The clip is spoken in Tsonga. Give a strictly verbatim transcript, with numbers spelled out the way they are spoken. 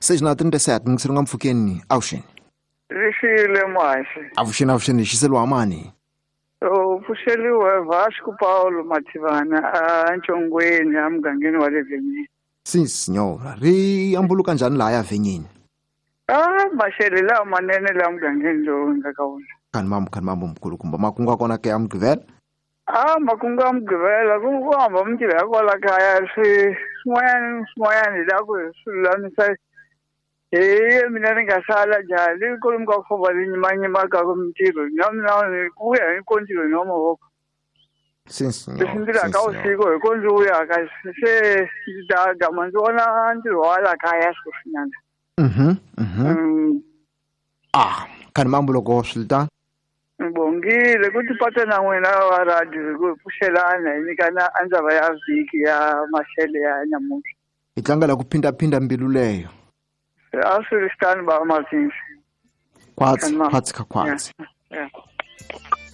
Seis na trinta e sete, mngiselo nga mpfukeni, avuxeni. Rixile muhaxi. Avuxeni, avuxeni, xiseliwa mani? U pfuxeliwe Vasco Paulo Mathivana a Ntshongweni a mugangeni wa le Venyeni. Sim, senhora. Ri ambuluka njhani laha ya Venyeni? Ah, maxele lawa manene laha mugangeni lowu nga ka wona. Khani mambo, khani mambo mkulukumba. Makungu ya kona ke ya Mugqivela? Ah, makungu ya Mugqivela ku ku hamba mintirho ya kwala kaya swi swin'wanyana swin'wanyana hi lava ku hi swi lulamisa hi mina ni nga sala njhani kwalomu ka ku famba ni nyimanyimaka mintirho na mina ku vuya hi ko ntirhweni wa mavoko. Sim, senhor. Leswi ndzi laka vusiku hi ko ndzi vuyaka se ndzi ta gama ndzi vona ntirho wa la kaya sweswinyana. Mhm, mhm. Ah, khani mambo loko swi ri tano? Bongile ku tipata na n'wina wa radio hi ku pfuxelana hi nyikana a ndzava ya vhiki ya maxele ya namuntlha. Hi tlangela ku phindaphinda mbilu leyo. A swi ri tano ba Martins. Khwatsi, khwatsi ka khwatsi. Yeah.